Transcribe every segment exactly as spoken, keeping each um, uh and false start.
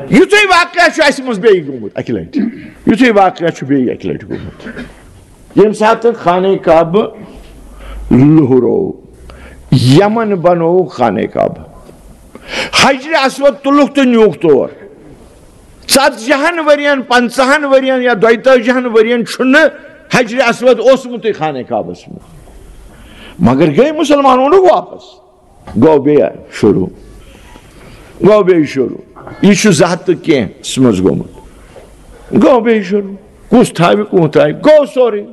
یُتھُے واقعہ چھُ اَسہِ منٛز بیٚیہِ گوٚمُت اَکہِ لَٹہِ، یُتھُے واقعہ چھُ بیٚیہِ اَکہِ لَٹہِ گوٚمُت، ییٚمہِ ساتہٕ خانہ کعبہٕ لُہرو، یمن بنوو خانہ کعبہٕ، حجر اسود تُلُکھ تہٕ نیوٗکھ تور۔ ژتجی ہن ؤرین، پنژاہن ؤرین یا دۄیتٲجی ہن ؤرین چھُنہٕ حجر اسود اوسمُتُے خانہ کعبس منٛز، مگر گٔے مُسلمان، اوٚنُکھ واپس۔ گوٚو بیٚیہِ شروٗع، گوٚو بیٚیہِ شروٗع۔ یہِ چھُ زٕ ہتھ تہٕ کینٛہہ منٛز گوٚمُت۔ گوٚو بیٚیہِ شروٗع۔ کُس تھاوِ، کُس تھاوِ، گوٚو سورُے۔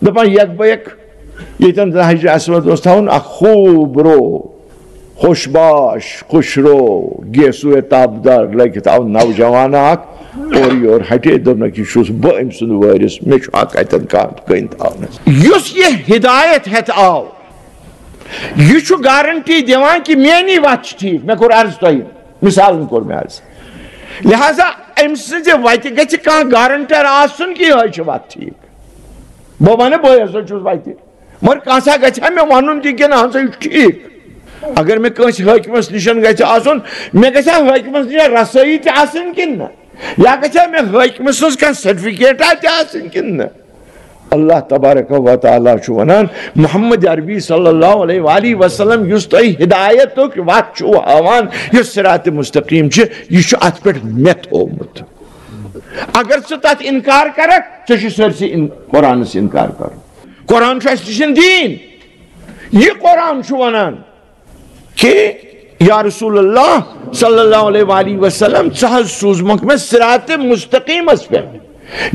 دَپان، یک بہ یک ییٚتٮ۪ن زَن حجر اسود اوس تھاوُن، اکھ خوٗب رو، خوش باش، خوش رو، گیسوے تاپدار لٲگِتھ آو نوجوان اکھ، اورٕ یور ہٹے، دوٚپنکھ، "یہِ چھُس بہٕ أمۍ سُنٛد وٲرِث، مےٚ چھُ حق اَتٮ۪ن کانٛہہ کٔنۍ تھاونس۔" یُس یہِ ہدایت ہٮ۪تھ آو، یہِ چھُ گارنٹی دِوان کہِ میٛٲنی وَتھ چھِ ٹھیٖک۔ مےٚ کوٚر عرض تۄہہِ، مثالن کوٚر مےٚ عرض۔ لہذا أمۍ سٕنٛزِ وَتہِ گژھِ کانٛہہ گارنٹر آسُن کہِ یِہوٚے چھِ وَتھ ٹھیٖک۔ بہٕ وَنہٕ، بٕے ہسا چھُس وَتہِ، مگر کانٛہہ سا گژھِ ہا مےٚ وَنُن تہِ کہِ نہ ہسا یہِ چھُ ٹھیٖک۔ اگر مےٚ کٲنٛسہِ حٲکمَس نِش گژھِ آسُن، مےٚ گژھِ ہا حٲکمَس نِش رسٲیی تہِ آسٕنۍ کِنہٕ نہ؟ یا گژھِ ہا مےٚ حٲکمہٕ سٕنٛز کانٛہہ سرٹیفکیٹا تہِ آسٕنۍ کِنہٕ نہ؟ اللہ تبارک و تعالیٰ چھُ وَنان، محمد عربی صلی اللہ علیہ وآلہ وسلم یُس تۄہہِ ہدایتُک وَتھ چھُو ہاوان، یُس صراط مستقیم چھِ، یہِ چھُ اَتھ پٮ۪ٹھ مےٚ تھوٚومُت۔ اگر ژٕ تَتھ اِنکار کَرَکھ، ژےٚ چھُ سٲرسٕے اِن-، قرآنَس اِنکار کَرُن۔ قرآن چھُ اَسہِ نِش دیٖن۔ یہِ قرآن چھُ وَنان، کہ یا رسول اللہ صلی اللہ علیہ وآلہ وسلم، ژٕ حظ سوٗزمُت مےٚ صراط مستقیمس پٮ۪ٹھ۔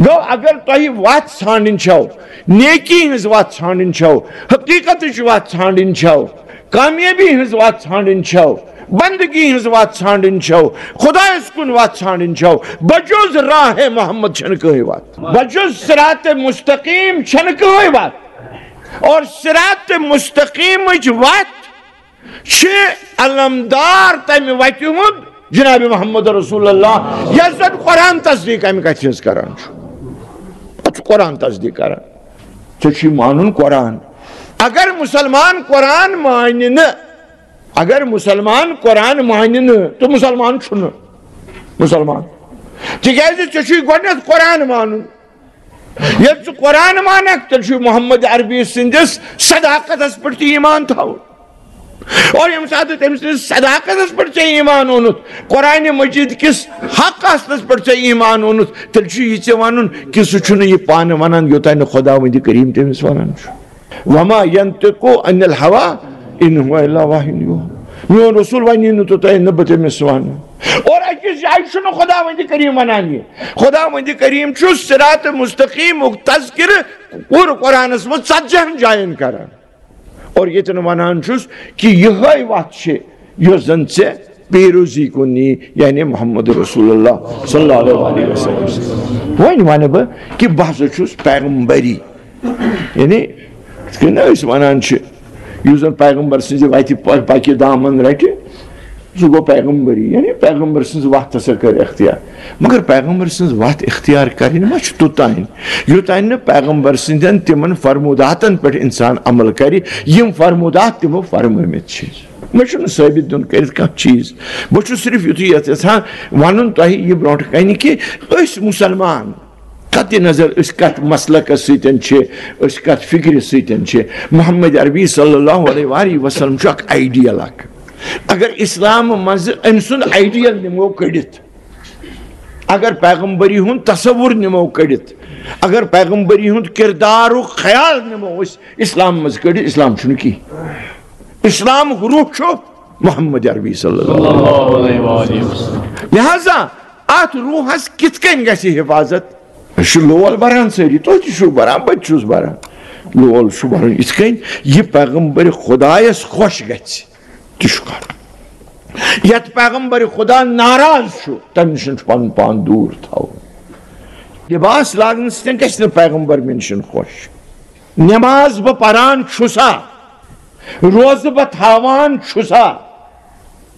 گوٚو، اگر تۄہہِ وَتھ ژھانڈٕنۍ چھو، نیکی ہٕنٛز وَتھ ژھانڈٕنۍ چھو، حقیقتٕچ وَتھ ژھانڈٕنۍ چھو، کامیٲبی ہٕنٛز وَتھ ژھانڈٕنۍ چھو، بندگی ہٕنٛز وَتھ ژھانڈٕنۍ چھو، خدایس کُن وَتھ ژھانڈٕنۍ چھو، بجز راہ محمد چھنہٕ کٕہٕنۍ وَتھ، بجز صراط مستقیم چھنہٕ کٕہٕنۍ وَتھ۔ اور صراط مستقیمٕچ وَتھ چھِ علمدار تمہِ وتہِ ہُنٛد جناب محمد رسول اللہ، یۄس زن قرآن تصدیق امہِ کتھِ ہٕنٛز کران چھُ۔ اتھ چھُ قرآن تصدیق کران۔ ژےٚ چھُے مانُن قرآن۔ اگر مسلمان قرآن مانہِ نہٕ، اگر مسلمان قرآن مانہِ نہٕ، تہٕ مسلمان چھُنہٕ مسلمان۔ تِکیازِ ژےٚ چھُے گۄڈنیتھ قرآن مانُن۔ ییٚلہِ ژٕ قرآن مانکھ، تیٚلہِ چھُ محمد عربی سٕنٛدِس صداقتس پٮ۪ٹھ تہِ ایمان تھاوُن۔ اور ییٚمہِ ساتہٕ تٔمۍ سٕنٛدِس صداقتس پٮ۪ٹھ ژےٚ ایمان اوٚنُتھ، قرآن مجید کِس حق آسنس پٮ۪ٹھ ژےٚ ایمان اوٚنُتھ، تیٚلہِ چھُ یہِ ژےٚ ونُن کہِ سُہ چھُنہٕ یہِ پانہٕ ونان، یوٚتام نہٕ خداوندِ کریم تٔمِس ونان چھُ۔ وما ينطق عن الهوى ان هو الا وحي يوحى۔ میون رسول ونی نہٕ توٚتام نہٕ بہٕ تٔمِس ونہٕ۔ اور أکِس جایہِ چھُنہٕ خداوندِ کریم ونان یہِ۔ خداوندِ کریم چھُ صراط مستقیمُک تذکرٕ پوٗرٕ قرآنس منٛز ژتجی ہن جاین کران۔ اور ییٚتٮ۪ن ونان چھُس کہِ یِہوٚے وَتھ چھِ یۄس زن ژےٚ پیروزی کُن نی، یعنی محمد رسول اللہ صلی اللہ علیہ وسلم۔ وۄنۍ ونہٕ بہٕ کہِ بہٕ ہسا چھُس پیغمبری، یعنی یِتھ کٔنۍ أسۍ ونان چھِ، یُس زن پیغمبر سٕنٛزِ وتہِ پ-، پکہِ دامن رٹہِ، سُہ گوٚو پیغمبری، یعنی پیغمبر سٕنٛز وتھ ہسا کٔر اختیار۔ مگر پیغمبر سٕنٛز وتھ اختیار کرٕنۍ ما چھِ توٚتام، یوٚتام نہٕ پیغمبر سٕنٛدٮ۪ن تِمن فرموداتن پٮ۪ٹھ انسان عمل کرِ، یِم فرمودات تِمو فرمٲومٕتۍ چھِ۔ مےٚ چھُنہٕ ثٲبت دیُن کٔرِتھ کانٛہہ چیٖز۔ بہٕ چھُس صرف یُتُے یژھ-، یژھان وَنُن تۄہہِ یہِ برونٛٹھ کنہِ کہِ أسۍ مُسلمان، قطع نظر أسۍ کتھ مسلکس سۭتۍ چھِ، أسۍ کتھ فکرِ سۭتۍ چھِ، محمد عربی صلی اللہ علیہ وآلہ وسلم چھُ اکھ آئیڈیل اکھ۔ اگر اسلام منٛز أمۍ سُنٛد آئیڈیل نِمو کٔڑِتھ، اگر پیغمبری ہُنٛد تصور نِمو کٔڑِتھ، اگر پیغمبری ہُنٛد کردارُک خیال نِمو أسۍ اسلام منٛز کٔڑِتھ، اسلام چھُنہٕ کینٛہہ۔ اسلامُک روح چھُ محمد عربی صلی اللہ علیہ وسلم۔ لہذا اتھ روحس کِتھ کٔنۍ گژھِ حفاظت؟ أسۍ چھِ لول بران سٲری، تُہۍ تہِ چھِو بران، بہٕ تہِ چھُس بران۔ لول چھُ بران یِتھ کٔنۍ یہِ پیغمبر خدایس خۄش گژھِ، تہِ چھُ کرُن۔ یتھ پیغمبر خدا ناراض چھُ، تمہِ نِش چھُ پنُن پان دوٗر تھاوُن۔ لباس لاگنہٕ سۭتۍ گژھِ نہٕ پیغمبر مےٚ نِش خۄش۔ نماز بہٕ پران چھُسا، روزٕ بہٕ تھاوان چھُسا،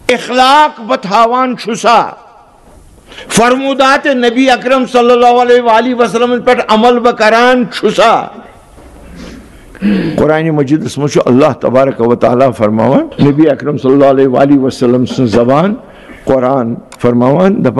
اخلاق بہٕ تھاوان چھُسا، فرمودات نبی اکرم صلی اللہ علیہ وآلہ وسلم پٮ۪ٹھ عمل بہٕ کران چھُسا؟ قرآن مجیدس منٛز چھُ اللہ تبارک و تعالیٰ فرماوان، نبی اکرم صلی اللہ علیہ وآلہ وسلم سٕنٛز زبان قرآن فرماوان، دپان،